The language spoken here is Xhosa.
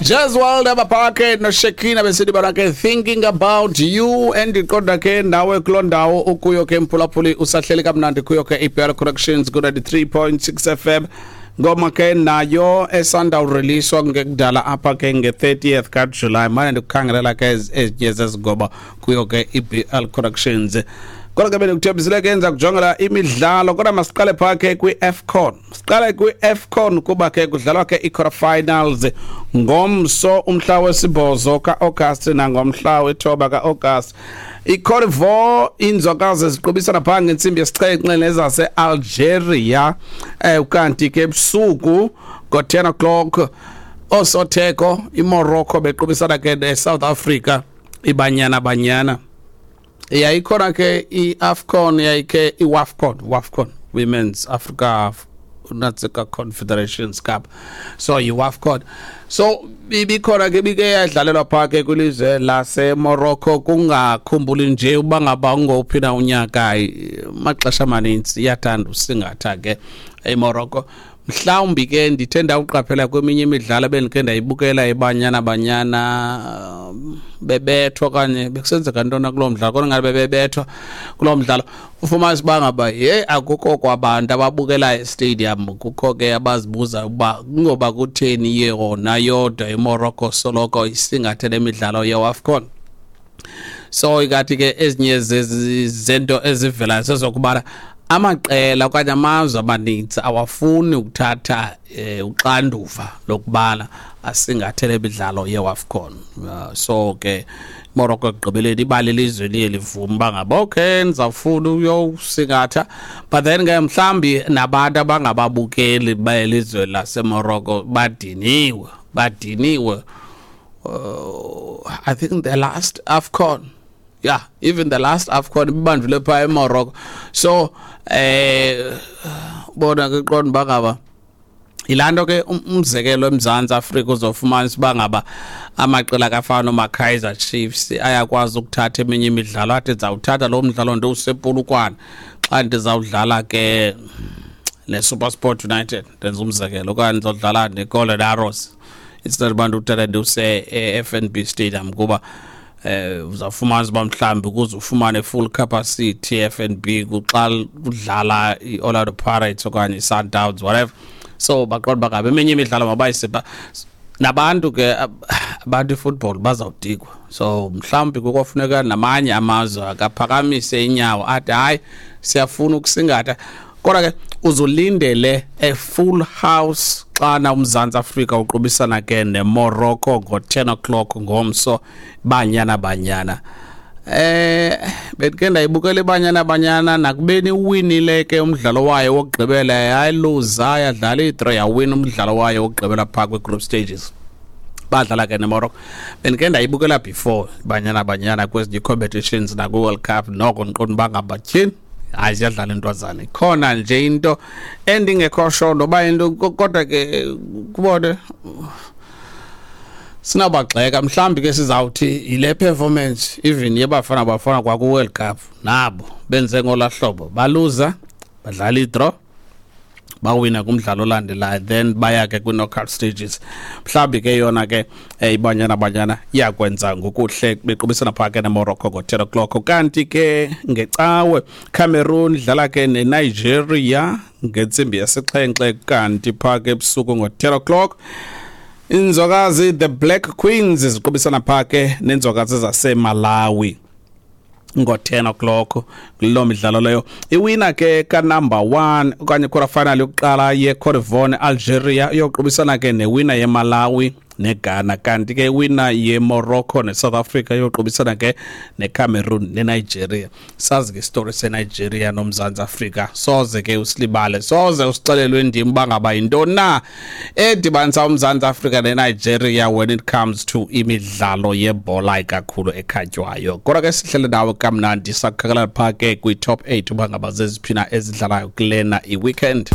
Jazz World abaphake noShekina besithi bona ke "Thinking About You". Endiqonda ke nawe kuloo ndawo ukuyo ke, mphulaphuli, usahleli kamnandi kuyo ke iBL Corrections ku-93.6 FM. Ngoma ke nayo esandawureleaswa ngekudala apha ke nge-30th kaJulayi. Mane ndikukhangelela ke ezinye zezingoma kuyo ke iBL Corrections. Kodwa ke bendikuthembisile ke enza kujongela imidlalo, kodwa masiqale phaa ke kwi-AFCON. Siqale kwi-AFCON kuba ke kudlalwa ke i-quarter finals ngomso, umhla we-8 ka-August, nangomhla we-9 ka-August. I-Cote d'Ivoire, inzokazi, ziqubisana phaa ngentsimbi yesi-7 nezase-Algeria, kanti ke ebusuku ngo-10 o'clock osotheko iMorocco bequbisana ke ne-South Africa, iBanyana Banyana. Yayikhona ke i-AFCON, yayikhe i-WAFCON, WAFCON, Women's Africa Natsika Confederations Cup, so yi-WAFCON. So ibikhona ke, ibike yadlalelwa phaa ke kwilizwe laseMorocco. Kungakhumbuli nje uba ngaba ungowuphi na unyaka, maxesha amanintsi iyathanda usingatha ke eMorocco. Mhlawumbi ke ndithe ndawuqaphela kweminye imidlalo bendikhe ndayibukela iBanyana Banyana, bebethwa okanye bekusenzeka ntona kuloo mdlalo, kodwa ngathi bebebethwa kuloo mdlalo, ufumanisa uba ngaba ye akukho kwabantu ababukelayo estadium. Kukho ke abazibuza ukuba kungoba kutheni yona yodwa iMorocco soloko isingathe le midlalo yeWAFCON. So ikathi ke ezinye zento ezivelayo sezokubana amaqela okanye amazwe amaninzi awafuni ukuthatha uxanduva lokubana asingathe le midlalo yeWAFCON. So ke Morocco ekugqibeleni ibali lizwe liye livuma uba ngaba okay, ndizawufuna uyowusingatha, but then ke mhlawumbi nabantu abangababukeli belizwe laseMorocco badiniwe, badiniwe. I think the last AFCON, yeah, even the last AFCON ibanjwe phaa eMorocco. So bona ke qonda uba ngaba yilaa nto ke. Umzekelo, eMzantsi Afrika uzofumanisa uba ngaba amaqela kafana nomaKaizer Chiefs ayakwazi ukuthatha eminye imidlalo, athi ndizawuthatha lo mdlalo ndiwusePolokwane xa ndizawudlala ke neSuperSport United, ndenza umzekelo, okanye ndizawudlala neGolden Arrows, instead uba ndiwuthatha ndiwuse e-FNB Stadium, kuba uzawufumanisa uba mhlawumbi ukuze ufumane full capacity e-FNB kuxa kudlala i-Orlando Pirates okanye i-Sundowns, whatever. So baqonda uba ngabe eminye imidlalo mabayisipha nabantu ke abantu ifootball bazawudikwa. So mhlawumbi kukofuneka namanye amazwe akaphakamise inyawo athi hayi, siyafuna ukusingatha. Kodwa ke uzulindele a full house xana uMzantsi Afrika uqubisana ke neMorocco ngo-10 o'clock ngomso. Banyana Banyana, bendike ndayibukela iBanyana Banyana, nakubeni uwinile ke umdlalo wayo wokugqibela, yayiluza, yadlala i-draw, yawina umdlalo wayo wokugqibela phaa kwi-group stages, badlala ke neMorocco. Bendike ndayibukela before Banyana Banyana kwezinye ii-competitions nakwi-World Cup, noko ndiqonda uba ngaba tyhini, hayi, ziyadlala intwazana. Ikhona nje into endingekho sure noba into, kodwa ke kubone sinabagxeka. Mhlawumbi ke sizawuthi yile performance even yeBafana Bafana kwaku-World Cup, nabo benze ngolaa hlobo, baluza, badlala i-draw, bawina kumdlalo olandelayo, then baya ke kwi-knockout stages. Mhlawumbi ke yona ke iBanyana Banyana iyakwenza ngokuhle bequbisana phaa ke neMorocco ngo-10 o'clock. Kanti ke ngeCawe Cameroon idlala ke neNigeria ngentsimbi yesi-7, kanti phaa ke ebusuku ngo-10 o'clock inzokazi, the Black Queens, ziqubisana phaa ke nenzokazi zaseMalawi ngo-10 o'clock kuloo midlalo leyo. Iwina ke kanumber 1 okanye quarter final yokuqala ye-Cote d'Ivoire ne-Algeria iyoqubisana ke newina yeMalawi neGhana, kanti ke iwina yeMorocco neSouth Africa iyoqubisana ke neCameroon neNigeria. Sazi ke isitori seNigeria noMzantsi Afrika, soze ke usilibale, soze usixelelwe ndim uba ngaba yintoni na edibanisa uMzantsi Afrika neNigeria when it comes to imidlalo yebhola ikakhulu ekhatywayo. Kodwa ke sihlele nawe kamnandi, sakukhakela phaa ke kwi-top 8 uba ngaba zeziphi na ezidlalayo kulena i-weekend.